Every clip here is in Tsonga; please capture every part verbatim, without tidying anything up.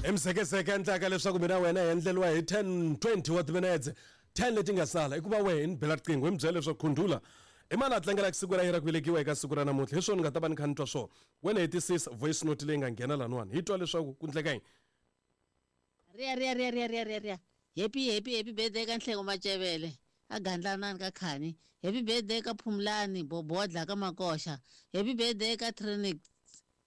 Emsekeseke endlaka leswaku mina wena hi endleriwa hi ten twenty wa timinetse ten leti nga sala i ku va wehe ni bela riqingho hi mi byela leswaku khundula i mani a tlangelaka siku ra yena ra ku velekiwa eka siku ra namuntlha hi swona ni nga ta va ni kha ni twa swona wena hetisisa voice note leyi nga nghena laniwani hi twa leswaku ku ndleka yini. Ria ria ria ria ria ria ria happy happy happy birthday ka Nhleko Macevele a Gandlanani ka Khani, happy birthday ka Phumlani Bobodla ka Makoxa, happy birthday ka Trinity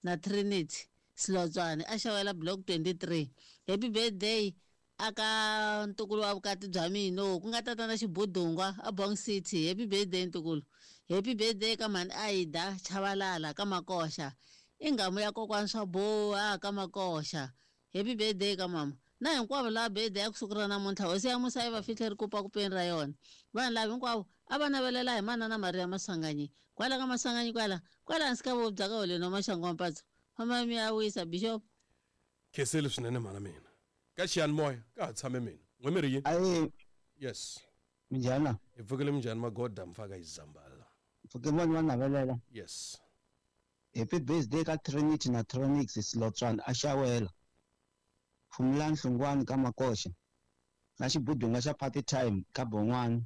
na Trinity Silotswane a xawela block twenty-three, happy birthday aka ntukulu wa vukati bya mina ku nga tatana Xibudungwa a Bong City, happy birthday ntukulu, happy birthday ka mhani Aida Chavalala ka Makoxa, i nghamu ya kokwana swa boha ka Makoxa, happy birthday ka mama na hinkwavo lava birthday ya kusuku ra namuntlha hosi ya musa yi va fihle ri kupa kupeni ra yona. Vanhu lava hinkwavo a va navelela hi manana Maria Maswanganyi kwala ka Maswanganyi kwala kwala hansi ka vobya ka holeni wa Maxangu wa Mpatso famba mi ya wisa bishop. Khensile swinene mhana mina ka xiyanimoya ka ha tshame mina n'we mi ri yini? Ayi. Yes. Minjhani? Hi pfukile minjhani magoda mfaka izambala. Pfuke mani wa navelela. Yes. Happy birthday ka Trinity na Tronix Silotswana a xawela. Phumlani Hlungwani ka Makoxa na Xibudunga xa party time ka Bon'wana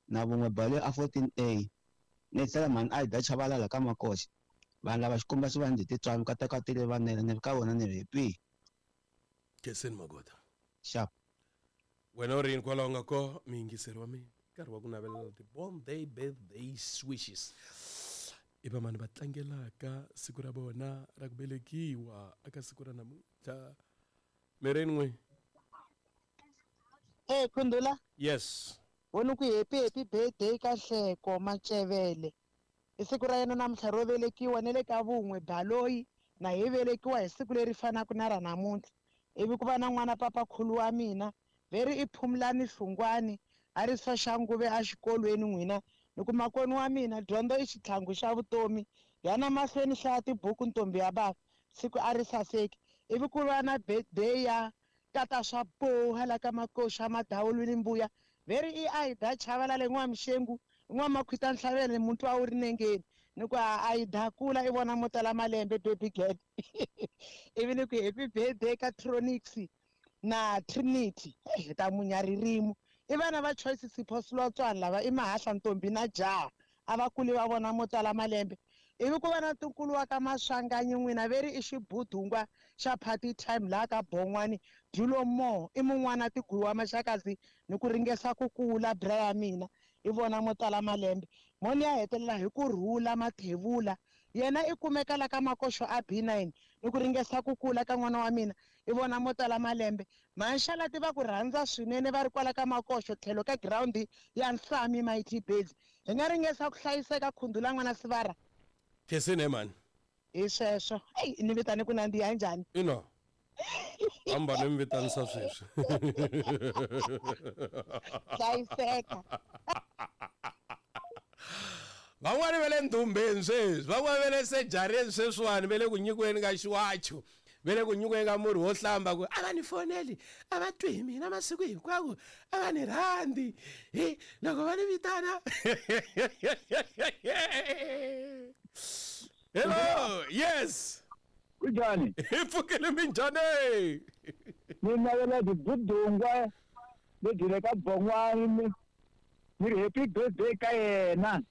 na vun'we bale a fourteen A ni tlhela mhani Aida Chavalala ka Makoxa vanhu lava xikomba xi va ndzi titswalo ka tekatile vanene ni ri ka vona ni ri happy. Khenseni magoda. Sharp. Wena u ri yini kwalaho nga ko miyingiseri wa mina nkarhi wa ku navelela ti-born day birthday wishes i vamani va tlangelaka siku ra vona ra ku velekiwa eka siku ra namuntlha. Mirini n'we. Eh Khundula. Yes. Vona ku happy happy birthday ka Nhleko Macevele. I siku ra yena namuntlha ro velekiwa ne le ka vun'we baloyi na hi velekiwa hi siku leri fanaka na ra namuntlha. Ivi ku va na n'wana papa khulu wa mina veri i Phumlani Hlungwani a ri Soshanguve a xikolweni n'wina ni ku makoni wa mina dyondzo i xitlhangu xa vutomi yana mahlweni hlaya tibuku ntombi ya bava siku a ri saseki. Ivi ku va na birthday ya tata swa boha la ka Makoxa Madawulwini mbuya veri i Aida Chavalala n'wa Mxengu n'wa Makhwita Ntlhavele muntu wa wu ri nengeni ni ku Aida kula i vona mo tala malembe baby girl. Ivi ni ku happy birthday ka Tronix na Trinity hi ta munya ririmi i vana va Choice Sipho Silotswana lava i mahahla ntombi na jaha a va kuli va vona mo tala malembe. Ivi ku va na ntukulu wa ka Maswanganyi n'wina veri i Xibudungwa xa party time laha ka Bon'wani Dulo Mo i mun'wana tiguwa Maxakazi ni ku ringesa ku kula bra ya mina i vona mo tala malembe moni ya hetelela hi ku rhula Mathevula yena i kumeka la ka Makoxo a B nine ni ku ringesa ku kula ka n'wana wa mina i vona mo tala malembe manxalati va ku rhandza swinene va ri kwala ka Makoxo tlhelo ka ground ya Nhlami Mighty Birds hi nga ringesa ku hlayiseka Khundula n'wana Sivara. Khensini mani. Hi sweswo eyi ni vitane ku nandziha njhani? Ina hamba ni mi vitanisa sweswi. Hlayiseka. Van'wani va le ndumbeni sweswi van'wani va le sejareni sweswiwani va le ku nyikiweni ka xiwacho va le ku nyikiweni ka murhi wo hlamba ku a va ni foneli a va twi hi mina masiku hinkwawo a va ni rhandzi hi loko va ni vitana. Hello, yes. Kunjani? Hi pfukile minjhani? Ni navela Xibudungwa lebyi le ka Bon'wani ni ri happy birthday ka yena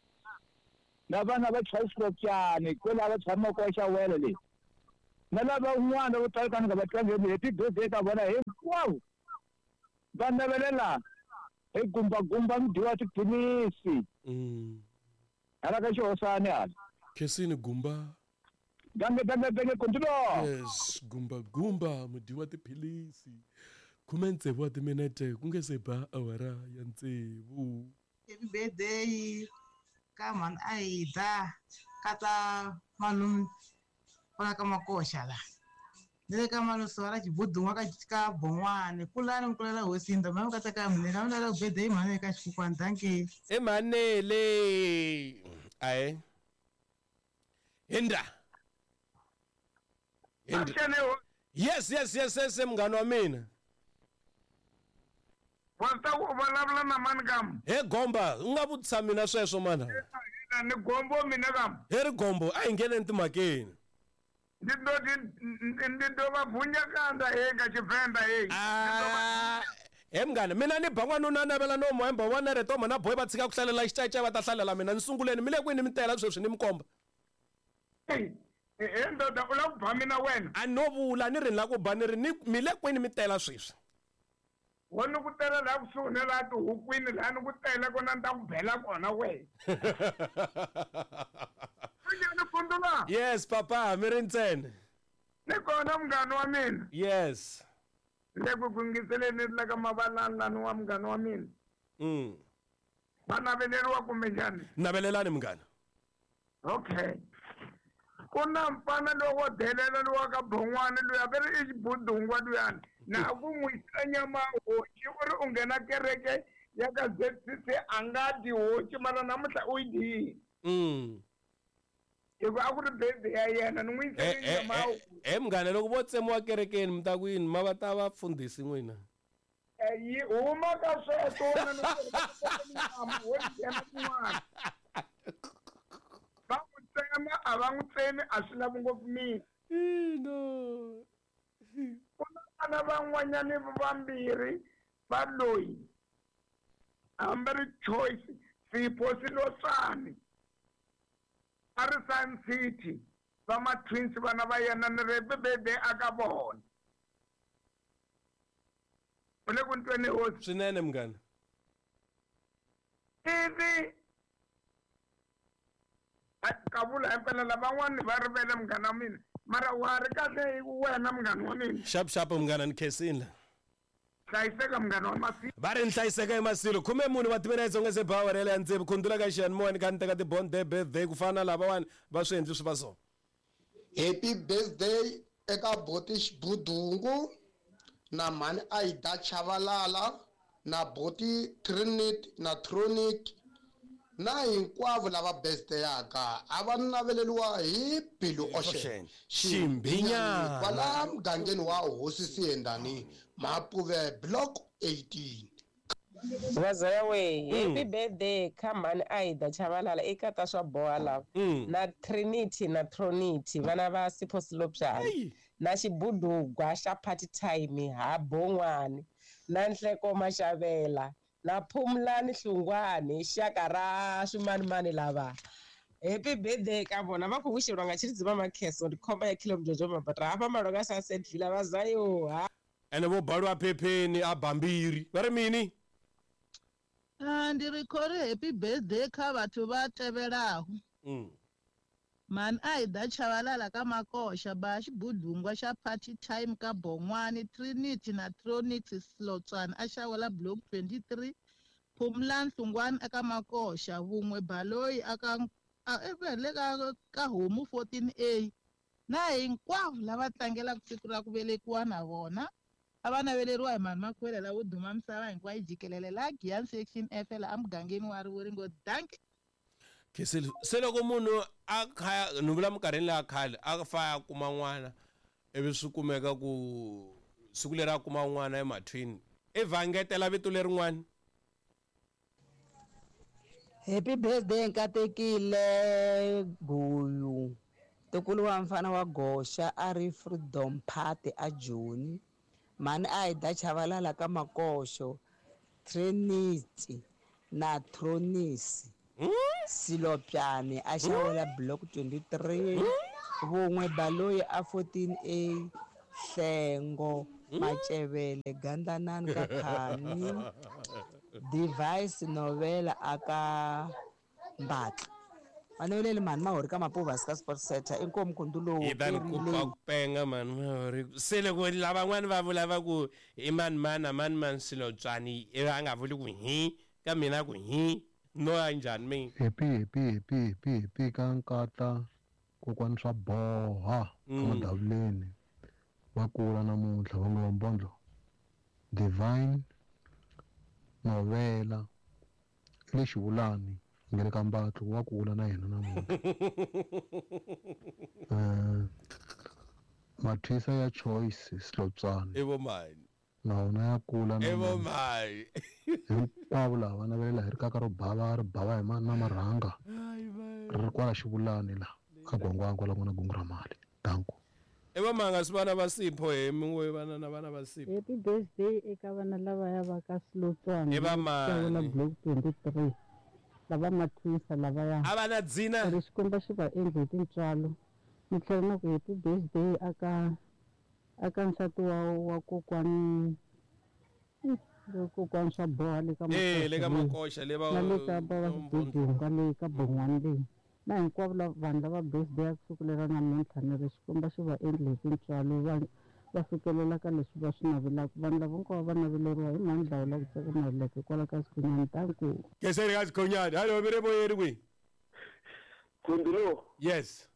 na vana va Choice kwela va tshamaka wa xawela leyi na lava un'wana vo tala ka ni nga va tlangeli happy birthday ka vona hinkwavo va navelela hi gumbagumba mudyi wa tiphilisi hala ka xihosani hala. Khensini gumba. Dange dange dange continue. Yes, gumba gumba mudyi wa tiphilisi. Khume tsevu wa timinete ku nge se ba awara ya tsevu. Happy birthday ka mhani Aida ka ta malume kwala ka Makoxa la ni le ka malume ra Xibudungwa ka ka Bon'wani kulani mi kulela hosi ndombi mi ka ta ka mina mi lavela birthday mhani ka Xikhukhwana dankie. I manele ayi Hinda. Hinda. Yes yes yes yes munghana wa mina. Wa ta ku vulavula na mani kam? He gomba u nga vutisa mina sweswo mana. Ni gombo mina kam. He ri gombo a hi ngheneni timhakeni. Ndi ḓo ndi ḓo vha vunya kanda he nga Tshivenḓa hei. Ah, he munghana mina ni ba n'wanuna navela no muhemba wa na retoma na boy va tshika ku hlalela xicayicayi va ta hlalela mina ni sunguleni mi le kwini mi tela sweswi ni mi komba. He ndoda u lava ku ba mina wena? A no vula ni ri ni lava ku ba ni ri ni mi le kwini mi tela sweswi. Wo ni ku tela laha kusuhi na laha tihukwini laha ni ku tela kona ni ta ku bela kona wena. Yes papa mi ri ntsena. Ni kona munghana wa mina. Yes. Le ku kungiseleni la ka mavalani wa munghana wa mina. Mm. Va naveleriwa kumbe njhani? Navelelani munghana. Okay. Ku na mfana lowu wo delela lowa ka Bon'wana luya va ri i xibudungwa luyani na ku n'wi yisela nyama hoci u ri u nghena kereke ya ka Z C C a nga dyi hoci mara namuntlha u yi dyile. Mm. Hikuva a ku ri birthday ya yena ni n'wi yisele nyama ya hoci. He munghana loko vo tsemiwa kerekeni mi ta ku yini ma va ta va fundhisi n'wina? Yi huma ka sweswo wena ni nyama hoci yena kun'wana. Va n'wi tsema a va n'wi tsemi a swi lavi ngopfu mina. No. Ku na vana van'wanyani vambirhi va loyi hambi ri Choice Sipho Silotswani a ri Sun City va ma-twins vana va yena ni ri birthday a ka vona. U le ku ntweni hosi? Swinene munghana. Ivi ka vula himpela lavan'wani va rivele munghana wa mina mara wa ri kahle wena munghana wa mina. Xap xap munghana ni khensile. Hlayiseka munghana wa Masilo. Va ri ni hlayiseka emasilo khume mune wa timina yitsongo se bawa ra le ndzeni khundula ka xiyanimoya ni kha ni teka ti-bond day birthday ku fana na lavawani va swi endli swi va so. Happy birthday eka boti Xibudungu na mhani Aida Chavalala na boti Trinity na Tronic na hinkwavo lava birthday-aka a va naveleriwa hi Bilu Ocean Ximbinyana kwala mugangeni wa Hosi Siyendani Mapuve block eighteen. Vazaya we happy birthday ka mhani Aida Chavalala eka ta swa boha lava na Trinity na Tronity vana va Sipho Silopyana na xibudugwa xa party time ha Bon'wani na Nhleko Maxavela na Phumlani Hlungwani xaka ra swimanimani lava. Happy birthday ka vona va ku wisheriwa nga Tshilidzi Makheso ndi khomba ya Kilo Mjojo Mabata hafha Malonga Sunset Villa va zayo ha. Ene vo baliwa phepheni a bambiri va ri mini? Ah ndi ri khori happy birthday kha vhathu va tevhelaho. Mm. Mhani Aida Chavalala ka Makoxa ba xibudungwa xa party time ka Bon'wani Trinity na Tronix Silotswana a xawela block twenty-three Phumlani Hlungwani aka Makoxa Vun'we Baloyi aka le ka ka Homu fourteen A na hinkwavo lava tlangelaka siku ra ku velekiwa na vona a va naveleriwa hi mhani Makhwela lavo duma misava hinkwayo jikelele la Giyani section F la emugangeni wa Rivoringo. Dankie. Se loko munhu a kha ni vula minkarhini leya khale a fa a kuma n'wana ivi swi kumeka ku siku leri a kuma n'wana emathwini i vhangetela vito lerin'wana. Happy birthday Nkatekile Guyu ntukulu wa mfana wa Goxa a ri Freedom Party a Joni mhani Aida Chavalala ka Makoxo Trinity na Tronisi Silopyane a xawela block twenty-three Vun'we Baloyi a fourteen A Hlengo Macevele Gandlanani ka Khani Device Novela aka Mbatla Maneweleli mhani Mahori ka Mapuva ka Sports Center inkomu khundu yi ta ni kupa ku penga mhani Mahori se loko lavan'wani va vula va ku i mani mani a mani mani Silotswani ivi a nga vuli ku hi ka mina ku hi no ya njhani mina. Happy happy happy happy happy ka nkata kokwani swa boha emadavuleni va kula namuntlha va nga Mbondlo Divine Novela le Xivulani ngele ka Mbatlo wa kula na yena namuntlha. Eh Mathisa ya Choice Silotswana i vo mani na wona ya kula i vo mani hinkwavo lava navelela hi ri kaka ro bava ri bava hi na marhanga ri ri kwala Xivulani la ka Gwangwangwa la ku nga na gungu ra mali. Danko. I va manga swi vana va Sipho he min'we vana na vana va Sipho. Happy birthday eka vana lavaya va ka Silotswana. I va mani? Block twenty-three. Lava mathwisa lavaya. A va na dzina. Ri Xikwembu xi va endle hi tintswalo. Ni tlhela na ku happy birthday aka aka nsati wa wa kokwani kokwani swa boha le ka Makoxa. Eh le ka Makoxa le va le ka va Xibudunga le ka Bon'wani leyi. Na hinkwavo vanhu lava birthday ya siku lera namuntlha ni ri Xikwembu xi va endle hi tintswalo va va fikelela ka leswi va swi navelaka. Vanhu lava hinkwavo va naveleriwa hi mhani Dlawula ku tsaka Maluleke kwala ka Sikhonyani. Danko. Keseri ka Sikhonyani. Hallo mi re moyeni kwihi? Khundulo. Yes.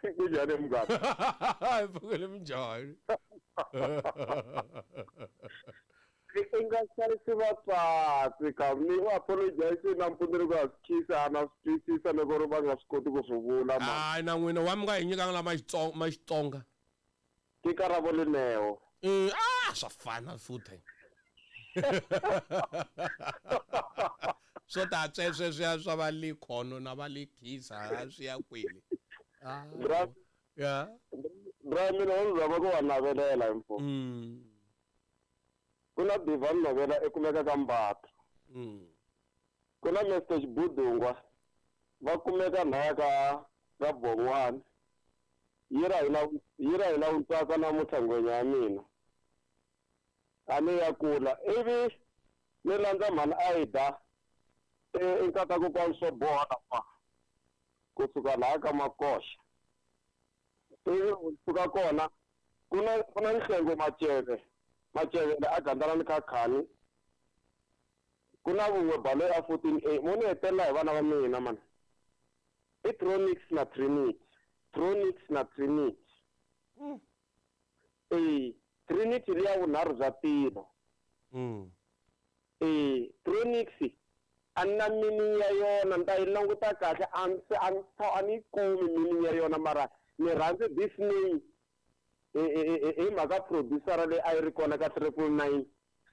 Kunjani mngani? Pfukile minjhani? I nga hlayisi vatswatsi ka ni apologize nampundzu ni ku ha swi khisa a na swi twisisa loko ri va nga swi koti ku swi vula. Hayi na n'wina wa mi nga hi nyikanga la ma Xitsonga. Ke karabo Leneo. Ah swa fana futhi. Swo ta swesweswiya swa va Likhono na va Likhisa a swi ya kwini. Ah ya. Bra mina wo zama ku va navelela hi mfo. Ku na Divan Navela e kumeka ka Mbatha. Ku na Mister Xibudungwa va kumeka laya ka ka Bon'wani. Yi ra hina yi ra hina Ntsaka namuntlha ngwenya ya mina. A ni ya kula ivi ni landza mhani Aida e nkata kokwani swo boha laha kusuka laha ka Makoxa. Ivi kusuka kona ku na ku na Nhlengo Maceve. Macevele a gandlana ni Khakhani. Ku na vun'we balo ya fourteen A mo ni hetelela hi vana va mina mani. I Tronix na Trinity. Tronix na Trinity. Eh Trinity liya vunharhu bya tilo. Eh Tronix a ni na meaning ya yona ni ta yi languta kahle a ni a ni yi kumi meaning ya yona mara ni rhandzi this name hi mhaka producer leyi a yi ri kona ka triple nine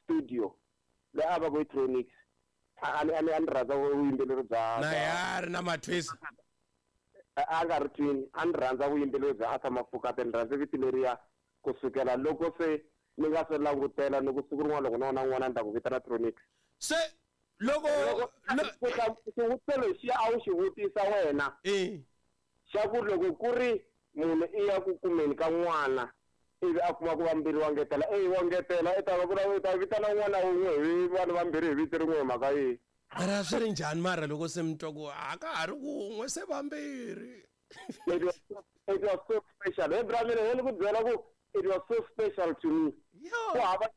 studio leyi a va ku i Tronix. A ni a ni a ni rhandza vuyimbeleri bya na ya ri na mathwisa a nga ri twini. A ni rhandza vuyimbeleri bya Arthur Mafokate, ni rhandza vito leriya kusukela loko se ni nga se langutela ni ku siku rin'wana loko na wona n'wana ni ta ku vitana Tronix. Se loko xivutiso lexiya a wu xi vutisa wena xa ku loko ku ri munhu i ya ku kumeni ka n'wana ivi a kuma ku vambirhi wa ngetela e wa ngetela i ta va ku i ta vitana n'wana wun'we hi vanhu vambirhi hi vito rin'we hi mhaka yihi? Mara swi ri njhani mara loko se mi twa ku a ka ha ri wun'we se vambirhi? It was it was so special. He bra mina ni ku byela ku it was so special to me. Ku hava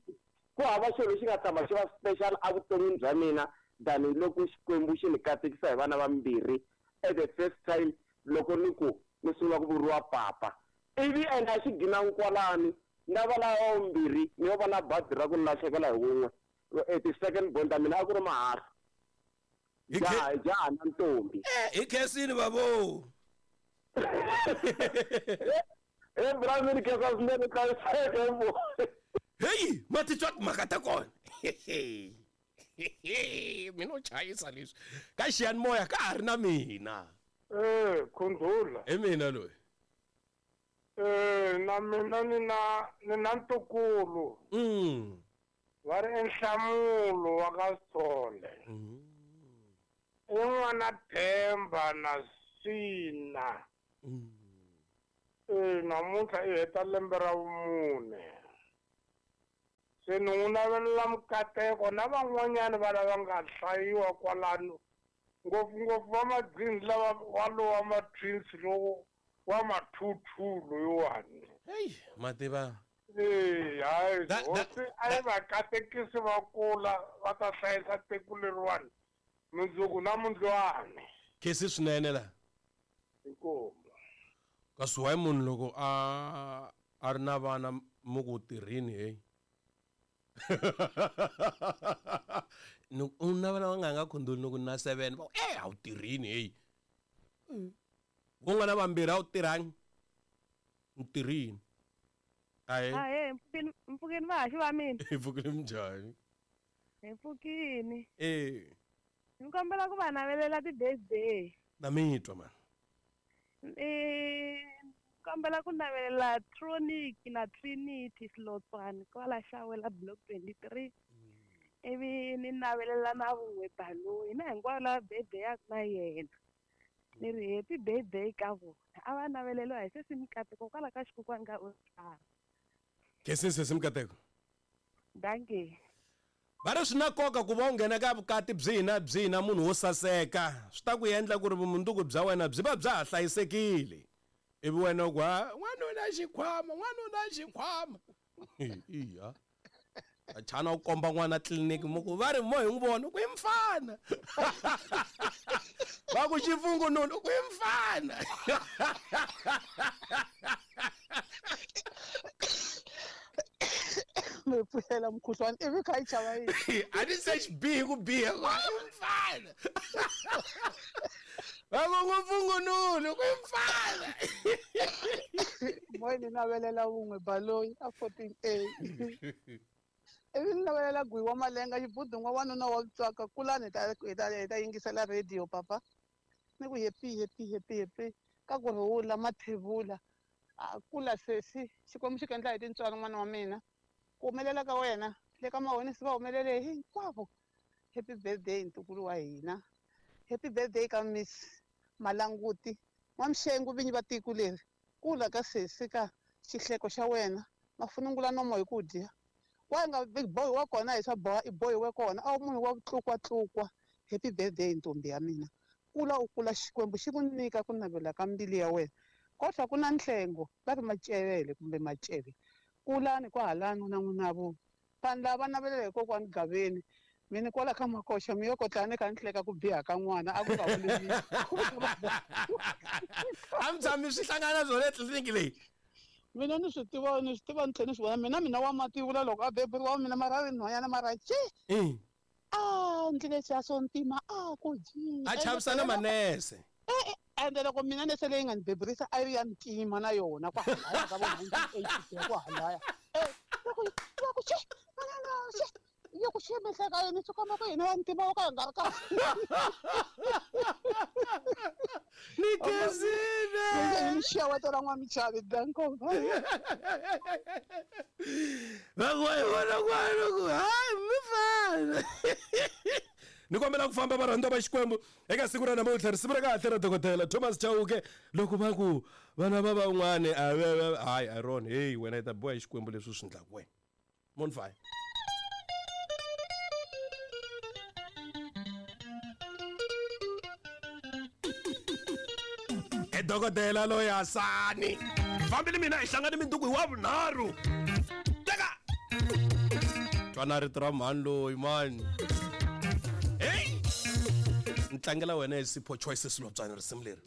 ku hava xilo lexi nga tshama xi va special evuton'wini bya mina than loko Xikwembu xi ni katekisa hi vana vambirhi at the first time loko ni ku ni sungula ku vuriwa papa. Ivi ene a xi gina nkwalani na va lava vumbirhi ni yo va na bazi ra ku ni lahlekela hi wun'we. Ti-second born ta mina a ku ri mahala. Jaha jaha na ntombi. Hi khensini vavo. E bra mina khensa swinene hlayiseke mbo. Heyi ma titwa timhaka ta kona. Mina u chayisa leswi ka xiyanimoya ka ha ri na mina. Eh Khundula. Hi mina loyi. Eh na mina ni na ni na ntukulu. Mm. Va ri Nhlamulo wa ka Sithole. I n'wana Themba na Sina. Eh namuntlha i heta lembe ra vumune. Se ni n'wi navelela mikateko na van'wanyani va lava nga hlayiwa kwalano ngopfungopfu va madzini lava walowa ma-twins lowo wa ma-two-two loyiwani. Heyi mativa. Eh hayi hosi a yi va katekisi va kula va ta hlayisa tiko leriwani mundzuku na mundlwani. Khesi swinene la. Inkomu. Kasi why munhu loko a a ri na vana mu ku tirhini heyi. Ni u na vana va nga nga khondoli loko na seven va eh a wu tirhini heyi. Ku nga na vambirhi a wu tirhangi. Ni tirhini. Ahe. Ahe mpfukeni mpfukeni vahaxi va mina. Hi pfukile minjhani? Hi pfukini. Eh. Ni kombela ku va navelela ti-birthday. Na mi twa mani. Eh Kombela ku navelela Tronic na Trinity Silotswani kwala Xawela block twenty-three. Ivi ni navelela na Vun'we Baloyi na hinkwavo lava birthday-aka na yena. Ni ri happy birthday ka vona. A va naveleliwa hi sesi Mikateko kwala ka xikokwani ka Oscar. Khensini sesi Mikateko. Dankie. Va ri swi na nkoka ku va u nghena ka vukati byihi na byihi na munhu wo saseka swi ta ku endla ku ri vumundzuku bya wena byi va bya ha hlayisekile. Ivi wena u ku ha n'wanuna xikhwama n'wanuna xikhwama. Iya. Achana u komba n'wana tliliniki mo ku va ri mo hi n'wi vona ku i mfana. Va ku xifungununu ku i mfana. Mi pfuxela mukhuhlwani ivi kha yi chava yini? A ni se xi bihi ku biha ku i mfana. Va ku n'wifungununu ku i mfana. Moya ni navelela Vun'we Baloyi a fourteen A. Ivi ni navelela Gwiwa wa Malenga xibudun'wa wanuna wa Vutswaka kulani hi ta hi ta hi ta yingisela radio papa. Ni ku happy happy happy happy ka ku rhula mathevula. A kula sesi Xikwembu xi ku endla hi tintswalo n'wana wa mina. Ku humelela ka wena le ka mahonisi va humelele hinkwavo. Happy birthday ntukulu wa hina. Happy birthday ka Miss Malanguti. N'wamxengu vinyi va tiko leri. Kula ka sesi ka xihleko xa wena. Mafunungula nomo hi ku dya. Wa nga big boy wa kona hi swa boha i bohiwe kona a wu munhu wa ku tlukwatluka. Happy birthday ntombi ya mina. Kula u kula Xikwembu xi ku nyika ku navela ka mbilu ya wena. Kodwa ku na nhlengo va ri Macevele kumbe Maceve. Kulani kwahalani na n'wina vo. Vanhu lava navelela hi kokwani Gaveni. Mina kwala ka Makoxa mi yo kotlani ka ni hleka ku biha ka n'wana a ku nga vuli. A mi tshami swi hlangana swona etliliniki leyi. Mina ni swi tiva ni swi tiva ni tlhela ni swi vona mina mina wa mativula loko a beburiwa mina mara ri nhwanyana mara ce. A ndlile xa swo ntima a ku dyi. A chavisa na manese. E ende loko mina nese leyi nga ni beburisa a yi ya ntima na yona kwahalaya ka vo nineteen eighty kwahalaya. Eh loko loko che manana che yo ku xi mihleka yini swi komba ku hina ya ntima wo ka hi nga ri kahle. Ni khensile. Ni xeweta ra N'wamichavi danko. Va ku hi vona n'wana ku hayi mifana. Ni kombela ku famba varhandziwa va Xikwembu eka siku ra namuntlha risimu ra kahle ra dokodela Thomas Chauke loko va ku vana va van'wani a hayi Aaron hey wena i ta biwa hi Xikwembu leswi u swi endlaka wena. Monfire. E dokodela loyi Hasani fambile mina hi hlangane minduku hi wa vunharhu. Teka twana rito ra mhani loyi mani. Hey! Ni tlangela wena hi Sipho Choices Silotswani risimu leri.